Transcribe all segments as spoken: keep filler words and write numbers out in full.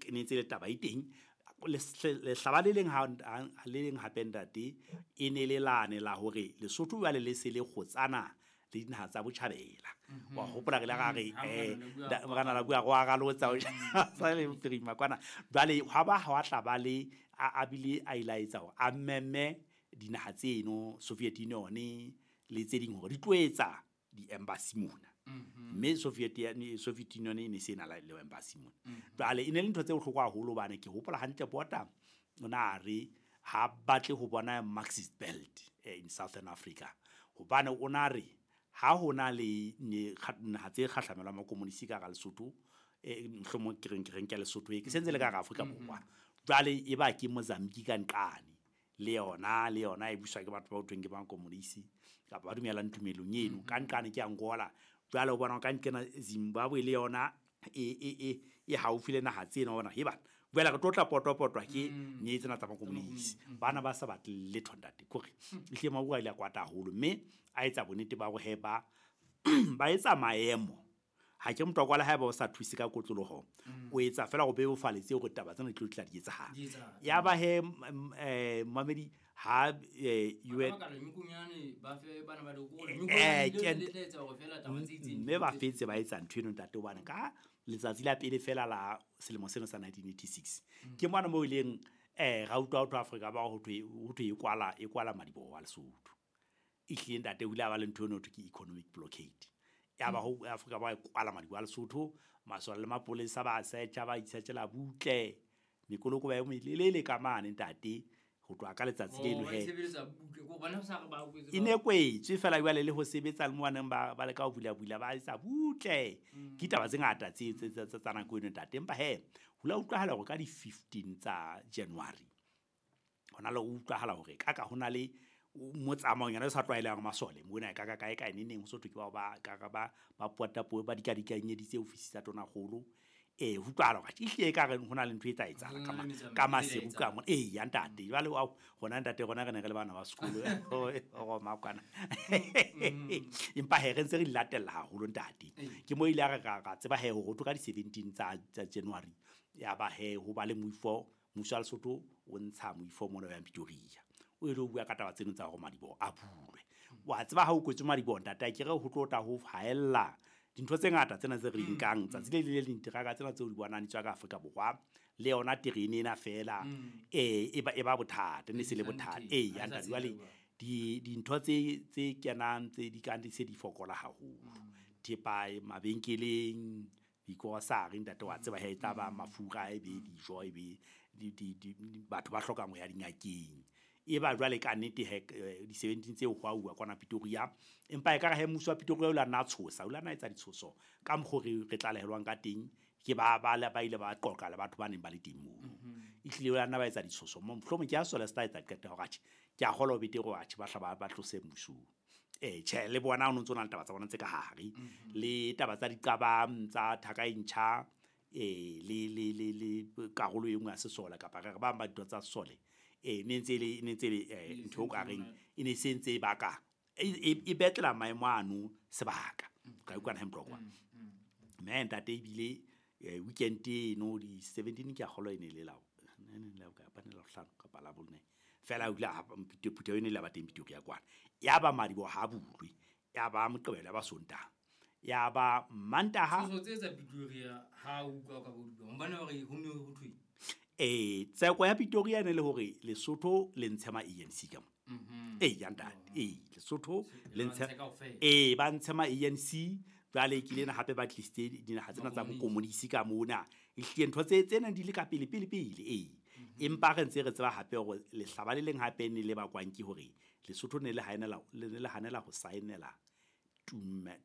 e ne ntse le taba e teng. Lehlaba le leng ha le leng hape ntate e ne le lane la hore Lesotho jwale le se le kgotsana le dinaha tsa botjhabela. Wa hopola re le ra re eh morana la bua go aralotsa sa le prima kwana. Jwale ha ba ha tla ba le a bile a ilaetsa hore a meme dinaha tseno Soviet Union le tse ding hore di tlo etsa di-embassy mona. Mme Soviet Soviet Union e ne se na le embassy mona. Jwale e ne le ntho tse bohlokwa haholo hobane ke hopola hantle Bota o na re ha batle ho bona Marxist belt in Southern Africa. Hobane o na re ha hona le naha tse kgahlamelwa makomonisi ka hara Lesotho, eh mohlomong ke reng ke reng ke Lesotho e ke sentse le ka hara Afrika Borwa. Jwale e ba ke Mozambique ka nqane le yona le yona e buswa ke batho ba hothweng ke makomonisi kapa ba dumelang tumelong eno. Ka nqane ke Angola. Jwale o bona ka nqena Zimbabwe le yona e e e e haufi le naha tsena bona he bana. Jwale re tlo tla potwa-potwa ke nye tsena tsa makomonisi. Bana ba sa batle letho ntate. Kore ehlile Mabua a ile a kwata haholo mme a etsa bonnete ba hore he ba ba etsa maemo. Ha ke motho wa kwala haeba o sa thuse ka kotloloho, o etsa fela go bebofaletse hore taba tsena di tlo tla di etsahala. Ya ba he eh mamedi ha U N mme ba fetse ba etsa ntho eno ntate hobane ka letsatsi la pele fela la selemo seno sa nineteen eighty-six ke mona mo ileng eh ra utlwa ho Afrika ba ho thwe ho thwe e kwala e kwala madiboho wa Lesotho. Ehlile ntate o ile a ba le ntho eno ho thwe ke economic blockade. Ya ba ho Afrika ba kwala madiboho a Lesotho, masole le mapolesa ba search ba itsetjela butle mekoloko ba e melelele ka mane ntate ho tloha ka letsatsi leno he. E ne kwetswe fela jwale le ho sebetsa le mo baneng ba ba leka ho bula bula ba etsa butle. Ke taba tse ngata tse tse tsa nako eno ntate. Empa he ho la utlwahala hore ka di fifteen tsa January hona le utlwahala hore ka ka hona le motsamao nyana o sa tlwaelehang masole mona ka ka kae kae neneng ho so thwe ke bao ba ka ka ba ba pota po ba dikadikanyeditse ofisi tsa tonakgolo. Eh ho utlwahala hore ehlile e ka re hona le ntho e tla etsahala ka ka maseru ka mona. Eh ya ntate jwale wa hona ntate rona re ne re le bana ba sekolo o makwana. Empa he re ntse re di latella haholo ntate. Ke mo ile a re ra tseba he hore ho ka di seventeen tsa tsa January ya ba he ho ba le moifo mmuso wa Lesotho o ntsha moifo mona wa Pretoria. O ile o bua ka taba tseno tsa hore madiboho a bulwe. Wa tseba ha o kwetswe madiboho ntate ke re ho tlo tla ho haella dintho tse ngata tsena tse re di nkang tsatsi le le leng diteraka tsena tseo di bonang di tswa ka Afrika Borwa le yona terene ena fela eh e ba e ba bothata ne se le bothata. Eh ya ntate jwale di dintho tse tse kenang tse di kang di se di fokola haholo. Thepa mabenkeleng dikorosari ntate wa tseba he tla ba mafura e be dijo e be di di batho ba hlokang ho ya dingakeng. E ba jwale ka nnete he di seventeen tseo ho a uwa kwana Pretoria. Empa e ka re he mmuso wa Pretoria o la nna tshosa o la nna etsa ditshoso ka mokgo re re tlalehelwang ka teng ke ba ba ba ile ba qoqa le batho ba neng ba le teng moo. Ehlile o la nna ba etsa ditshoso mohlomong ke a sole se tla etsa qeto hore atjhe ke a kgolwa betere hore atjhe ba hla ba ba tlose mmusong. Eh tjhe le bona o ntso na le taba tsa bona tse ka hare le taba tsa diqabang tsa thaka e ntjha eh le le le le karolo e nngwe ya sesole kapa re ba ba dintho tsa sesole eh ne ntse le ne ntse le ntho o ka reng e ne se ntse e baka e betla maemo ano sebaka ka utlwana he mtlokwa. Mme ntate ebile weekend eno di seventeen ke a kgolwa e ne le lao ne ne la ka panela hlano kapa la bone fela o ile a phutheho ene le ba teng Pretoria kwana. Ya ba madiboho ha bulwe ya ba Moqebelo ya ba Sontaha ya ba Mantaha. So tse tsa Pretoria ha o utlwa ka bo dibang hobane hore ho ne ho thwe eh tseko ya Pretoria ne le hore Lesotho le ntshe ma A N C ka mona. Eh ya ntate eh Lesotho le ntshe eh ba ntshe ma A N C jwale ke lena hape ba tlisitse dinaha tsena tsa bokomonisi ka mona. Ehlile ntho tse tsena di le ka pele pele pele eh empa re ntse re tseba hape hore lehlaba le leng hape ne le bakwang ke hore Lesotho ne le hanela le le hanela ho saenela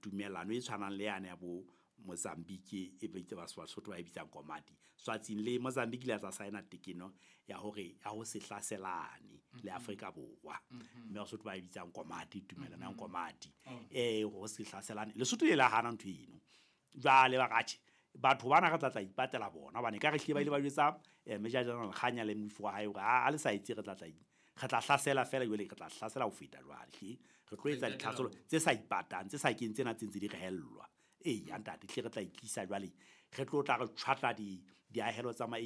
tumelano e tshwanang le yane ya bo Mozambique e bitse ba Basotho ba e bitsang Komati. Swatsing le Mozambique le tsa saena tekeno ya hore ya ho se hlaselane le Afrika Borwa. Mme Basotho ba e bitsang Komati tumelano ya Komati. Eh ho se hlaselane Lesotho le la hana ntho eno. Jwale ba katjhe batho bana re tla tla ipatela bona hobane ka re hlile ba ile ba jwetsa Major General Kganya le moifo wa hae hore a le sa itse re tla tla re tla hlasela fela jwale re tla hlasela ho feta jwale hle re tlo etsa ditlhaselo tse sa ipatang tse sa keng tsena tse ntse di re hellwa. Eh ya ntate hle re tla itlisa jwale re tlo tla re tshwatla di diahelo tsa ma